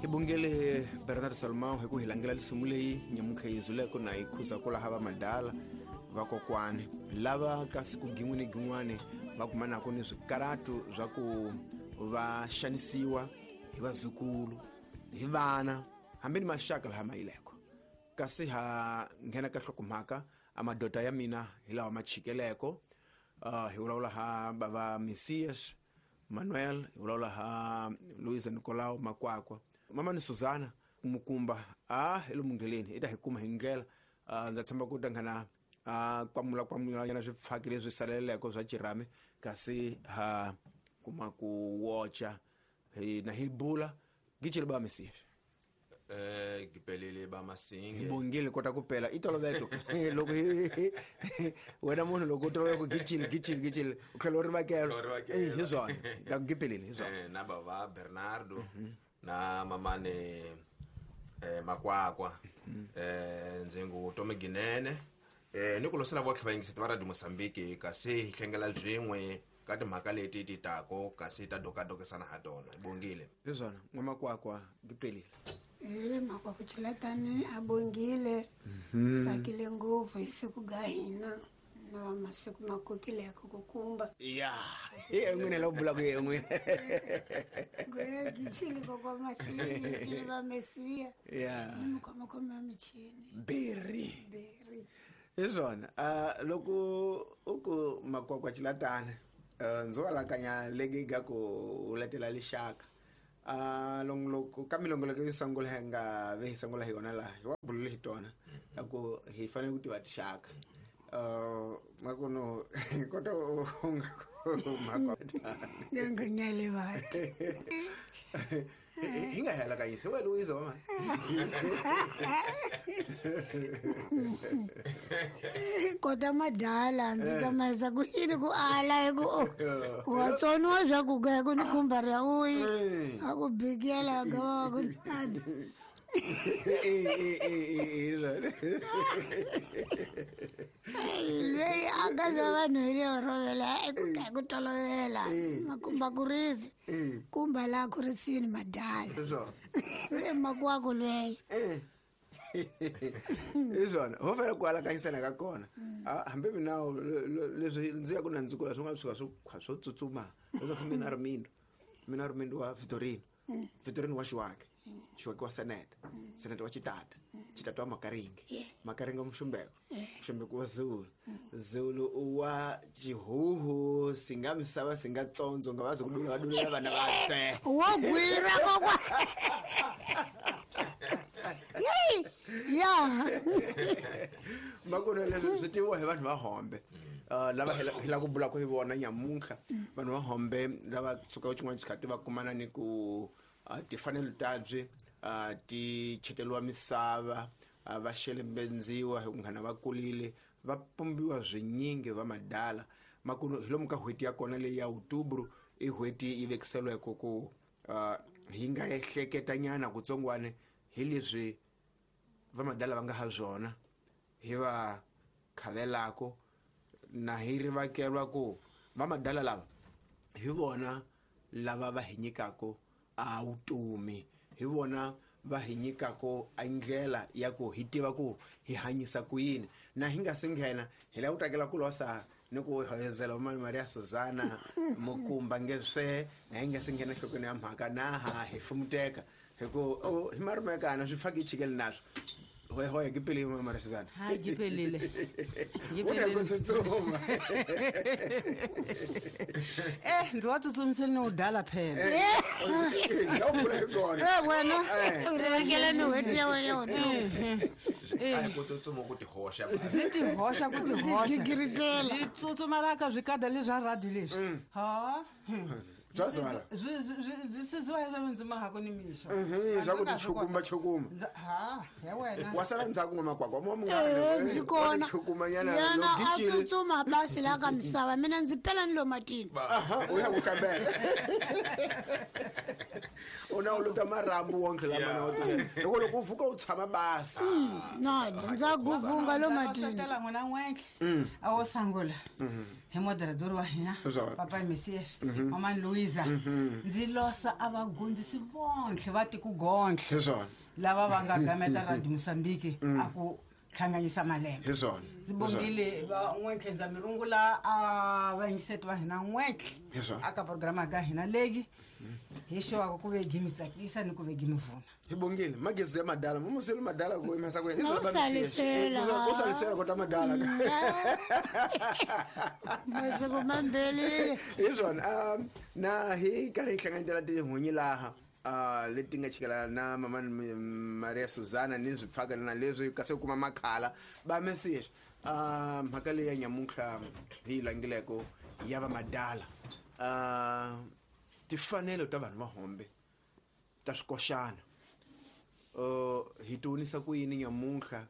Hi bongele Bernard Salmão hi ku hi langela lisimu leyi nyamuntlha yi zuleko na yi khuza ku laha va madala vakokwani lava ka siku gin'we ni gin'wani va kumanaka ni swikaratu swa ku va xanisiwa hi vazukulu hi vana hambi ni maxaka laha ma yileko. Kasi ha nghena ka hlokomhaka a madoda ya mina hi lawa ma chikeleko. Hi vulavula ha bava Messias Manuel, hi vulavula ha Luisa Nicolau Makwakwa, mama ni Susana Mukumba a hi le mungheleni i ta hi kuma hi ndlela. Ndza tshemba ku ta nghena a kwamula kwamula nyana swipfaki leswi saleleko swa chirhami, kasi ha kuma ku wocha hi na hi bula gichile ba Messias. Gipelele ba Masinge. Hi bongile kota ku pela i toloveto. Loko hi wena munhu loko u tolovela ku gichile gichile gichile u tlhela u rivakela. Hi swona ka ku gipelele hi swona. Na bava Bernardo na mamane Makwakwa, ndzi ngu Tomi Ginene, ni ku losela votlhe vayingiseti va Radio Mozambique, kasi hi hlengela byin'we ka timhaka leti ti tako kasi ta dokadokisana ha tona. Hi bongile. Hi swona n'wamakwakwa gipelile. Makwakwa Chilatani a bongile. Tsakile ngopfu hi siku ga hina na masiku ma kokileko ku kumba. Ya, hi n'wina la bulaka hi n'wina. Ngwe gichili kokwa Masinge, gichili va Mesiya. Ya. Ni mikhomakhoma ya michini. Berry. Berry. Hi swona. Loko u ku Makwakwa Chilatani, ndzi walakanya legi ga ku u letela lixaka. Longoloko ka milongoloko yo sungula hi nga ve hi sungula hi yona laha hi wa bulule hi tona ya ku hi fanele ku tiva tixaka. Makuno kota u nga ku Makwakwa. Nga nyale vati. Hi nga hela ka yise wena Luisa wa mani. Kota madala ndzi ta mayisa ku yini ku ala hi ku wa tsoniwa swa ku ga ku ni khumba ra uyi a ku bikela ga wa ku nani. Loyi a nga swa vanhu hi leyo rovela ku tolovela makumba kurisi kumba laha kurisini madala. Makwako loyi. Hi swona ho fanele ku alakanyisana ka kona. Hambi mina leswi ndzi ya ku na ndzi kula swi nga tshuka swo swo tsutsuma leswaku mina ri mindo mina ri mindo wa Vitorino, Vitorino wa Xiwake, Xiwake wa Seneta, Seneta wa Chitata, Chitata wa Makaringe, Makaringe wa Muxumbeko, Muxumbeko wa Zulu, Zulu wa Chihuhu, singa misava singa tsondzo nga vazi ku dula va dulela vana va fe. Wo gwira kokwa. Ya. Makuno leswi swi tiviwa hi vanhu va Hombe. Lava hi la ku bulaka hi vona nyamuntlha, vanhu va Hombe lava tshuka xin'wana xikhathi va kumana ni ku timfanelo ta byi ti cheteriwa misava, va xelembendziwa hi ku nghana va kulile, va pumbiwa swinyingi va madala. Makuno hi lomu ka n'hweti ya kona leyi ya Outubro i n'hweti yi vekiseliweke ku hi nga ehleketanyana kutsongwana hi leswi va madala va nga ha swona, hi va khavelako na hi rivakelwa ku va madala lava hi vona lava va hi nyikaka a vutomi, hi vona va hi nyikaka a ndlela ya ku hi tiva ku hi hanyisa ku yini. Na hi nga si nghena hi lava ku takela ku losa ni ku hoyozela va Maria Susana Mukumba nge swe, na hi nga si nghena enhlokweni ya mhaka na ha hi fumuteka hi ku hi marumekana swi faki chikele naswo. Hoya hoya gipelile mama Maria Susana. Ha gipelile. Gipelile. Ku tsutsuma. Ndzi wa tsutsumisele ni u dala phela. Ya u bula hi kona. Wena. U rivakela ni n'hweti ya wena yona. A hi ku tsutsuma ku tihoxa. Ndzi tihoxa ku tihoxa. Gigiritela. Ndzi tsutsuma la ka swikada leswa radio leswi. Ha. Bya zwala. Ndzi siziwa hi leswi ndzi mahako ni mixo. Swa ku tichukuma chukuma. Ha, ya wena. Wa sala ndzhaku n'wa makwakwa, mo munghana. Ndzi kona. Chukuma nyana, Yena lo a gicile. tsutsuma basi la ka misava, mina ndzi pela ni lo matini. Aha, u ya ku kambela. U na Na u lota marhambu wonke lama na u loko u vuka u tshama basa. No, ndza guvunga lo matini. Tela n'wina n'wentlhe a wo sangula hi moderador wa hina Papa Messias, Mama Louisa. Ndzi losa a vagondzisi vontlhe va tiku gontlhe lava va nga gameta Radio Mozambique a ku hlanganyisa malembe. Ndzi bongile va n'wentlhe, ndza mi rungula a vayingiseti va hina n'wentlhe aka programa ka hina leyi hi xewaka ku ve gi mi tsakisa ni ku ve gi mi vuna. Hi bongile magezi ya madala mumuseli madala ku imesa ku yena u salisela kota madala masiku mambelile. Hi swona na hi karhi hi hlanganetela tihunyi laha leti nga chikela na mama Maria Susana ni swipfaka na leswi kasi kuma makhala ba message mhaka leyi ya nyamuntlha hi langileko ya va madala tifanelo ta vanhu va hombe ta swikoxana hi tionisa ku yini nyamuntlha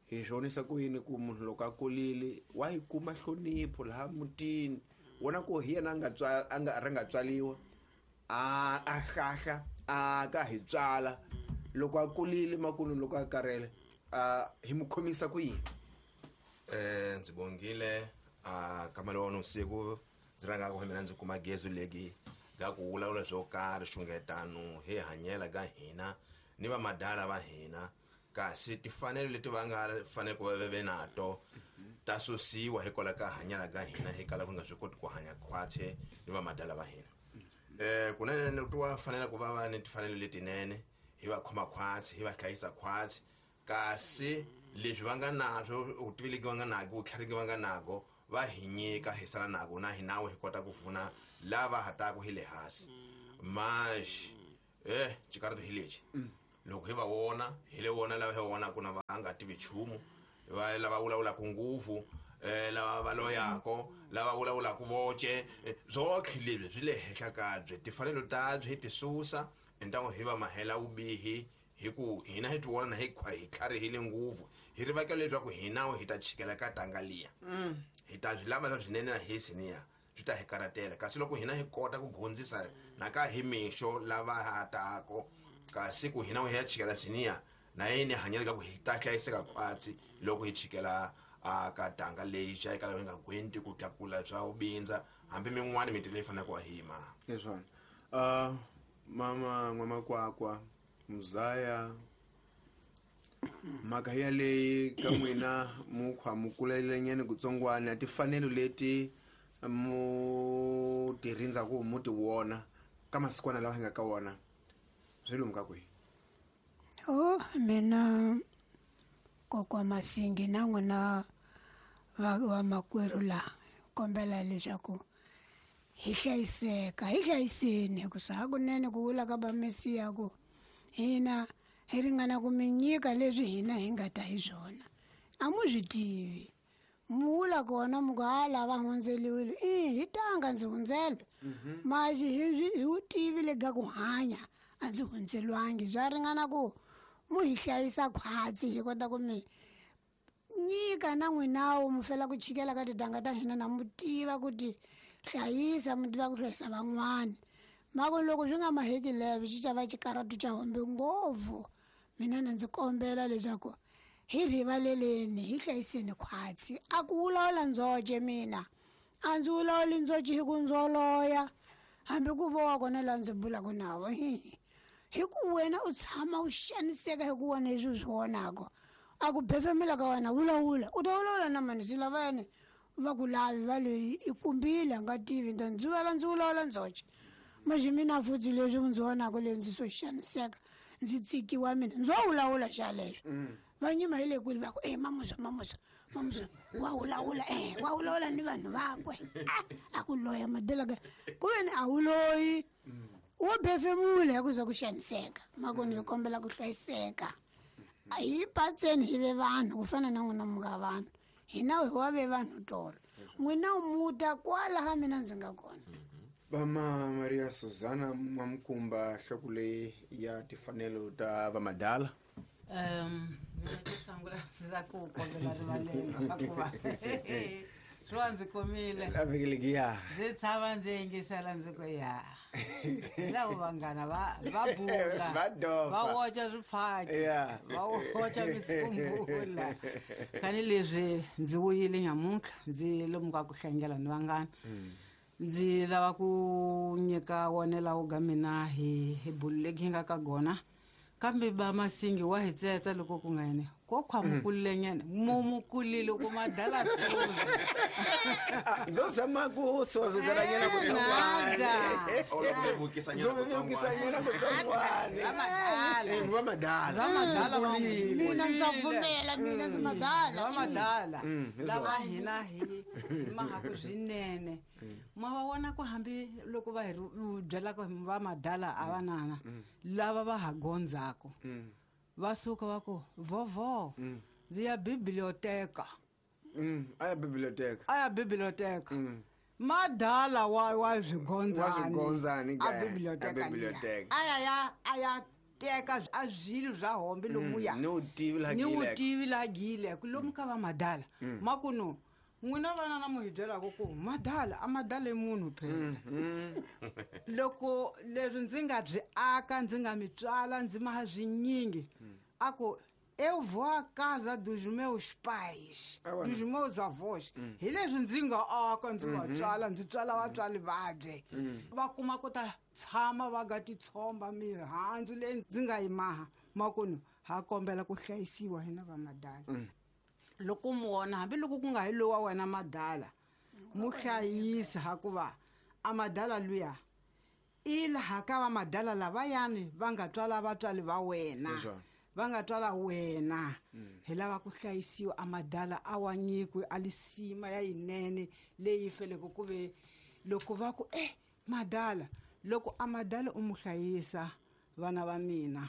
hi swonisa ku yini ku munhu loko a kulile wa yi kuma hlonipho laha mutini wona ku hi yena a nga ri nga tswaliwa a hlahla a ka hi tswala loko a kulile makulu loko a karele hi mu khomisa ku yini. Ndzi bongile kamelo wa usiku ndzi rhanga ku mina ndzi kuma gezu legi ga ku vulavula swo karhi xungetano hi hanyela ka hina ni va madala va hina kasi tifanelo leti va nga fanele ku va ve nato ta susiwa hikwalaho ka hanyela ka hina hi kala ku nga swi koti ku hanya khwatse ni va madala va hina. Kunene wa fanele ku va va ni tifanelo letinene hi va khoma khwatsi hi va hlayisa khwatsi kasi leswi va nga naswo u tivileki va nga nako u tlhariki va nga nako va hi nyika hi sala nako na hinawe hi kota ku pfuna lava hataka hi le hansi maxi xikarhi hi lexi loko hi va vona hi le vona lava hi va vonaka na va nga tivi nchumu va lava vulavulaka ngopfu lava va loyako lava vulavulaka voce swotlhe leswi swi le henhla ka byi tifanelo ta byi hi ti susa entango hi va mahela vubihi hi ku hina hi ti vona hi hi tlharihile ngopfu hi rivakela leswaku hina hi ta chikela ka tanga liya hi ta swi lava swa swinene na hi siniya swi ta hi karatela kasi loko hina hi kota ku gondzisa na ka hi mixo lava hatako kasi ku hina hi ya chikela siniya na yini hanyela ka ku hi ta hlayiseka khwatsi loko hi chikela ka tanga leyi xa eka hi nga gwenti ku tlakula swa ubindza hambi min'wana mintirho leyi faneleke wa hima. Leswona mama n'wamakwakwa muzaya mhaka yaleyi ka n'wina mukhwa mu kulelenyana kutsongwana tifanelo leti mu ti rindzaku mu ti wona ka masikwana lawa hi nga ka wona swi lomu ka kwihi? O mina kokwa Masingi na n'wina va makwerhu laha kombela leswaku hi hlayiseka hi hlayiseni hikusa hakunene ku vula ka vamesiya ku hina hi ringana ku mi nyika leswi hina hi nga ta hi swona a mu swi tivi mu vula kona mu ku hala va hundzeliwile i hi tanga ndzi hundzelwe maxi hi wu tivi le ka ku hanya a ndzi hundzelwangi swa ringana ku mu hi hlayisa khwatsi hi kota ku mi nyika na n'winawo mu fela ku chikela ka titanga ta hina na mu tiva ku ti hlayisa mu tiva ku hlayisa van'wana mako loko swi nga maheki leswi xi xava xikaratu xa hombe ngopfu mina na ndzi kombela leswaku hi rivaleleni hi hlayiseni khwatsi a ku vulavula ndzoce mina a ndzi vulavuli ndzoce hi ku ndzoloya hambi ku vowa kona laha ndzi bulaka navo hi ku wena u tshama u xaniseka hi ku wena leswi u swi vonaka a ku befemela ka wena vulavula u ta vulavula na mani swi lavayani va ku lavi va leyi i kumbile a nga tivi nta ndzi vela ndzi vulavula ndzoce maxi mina futhi leswi ndzi vonaka leswi ndzi swo xaniseka ndzi tsikiwa mina ndzo vulavula xa leswi va nyima hi le kwini va ku e mamusa mamusa mamusa wa vulavula wa vulavula ni vanhu vakwe a ku loya madelaka ku veni a wu loyi wo befemula hi ku za ku xaniseka makoni hi kombela ku hlayiseka hi patseni hi ve vanhu ku fana na n'wina mu nga vanhu hina hi wa ve vanhu tolo n'wina muta kwalaha mina ndzi nga kona. Vama Maria Susana Mamkumba nhloko leyi ya tifanelo ta vamadala. Mina xo sungula ndzi la ku kombela rivalelo hikuva Swi wa ndzi kumile. A vhiki lekiya. Ndzi tshama ndzi yingisela ndzi ku ya. Hi lavo vanghana va bula. Va dofa. Va oxa swifaki. Yeah. Va oxa mitsumbula. Tanihileswi ndzi vuyile nyamuntlha ndzi lomu ka ku hlangela ni vanghana. Ndzi lava ku nyika wonela wo ga mina hi bulu legi hi nga ka gona. Kambe ba Masingi wa hi tsetsa loko ku nga yene. Ko khwa mukulile nyana. Mukulile ku madala suza. Ndo zama ku suavizela nyana ku Nada. Ola ku vevukisa nyana ku Vevukisa nyana ku tsongwana. Va madala. Va madala. Va madala va Mukulile. Mina ndza pfumela, mina ndzi madala. Va madala. Hi Lava swona. hina hi mahaku swinene. Ma va vona ku hambi loko va hi byela ku va madala a va nana. Lava va ha gondzako. Va suka va ku vovo. Ndzi ya biblioteka. A ya biblioteka. A ya biblioteka. Madala wa swigondzani. Wa swigondzani A ke, biblioteka a biblioteka. liya. A ya a ya teka a swilo swa hombe lomuya. Ni wu tivi laha Ni wu gileke. tivi laha gileke. Lomu ka va madala. Makuno n'wina vana na mu hi byelaka ku madala a madala i munhu phela. Loko leswi ndzi nga byi aka ndzi nga mi tswala ndzi maha swinyingi. A ku eu vou à casa dos meus pais, Awa. dos meus avós. Hi leswi ndzi nga aka ndzi va tswala ndzi tswala vatswari vabye. Va kuma ku ta tshama va nga titshomba mihandzu leyi ndzi nga yi maha. Makunu ha kombela ku hlayisiwa hina va madala. Loko mu vona hambiloko ku nga hi lowa wena madala mu hlayisa hakuva a madala luya i laha ka va madala lavayani va nga tswala vatswari va wena. Leswaku. Va nga tswala wena. Hi lava ku hlayisiwa a madala a wa nyikwe a lisima ya yinene leyi feleke ku ve loko va ku madala loko a madala u mu hlayisa vana va mina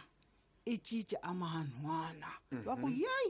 i cinca a mahanhwana. Va ku yeyi.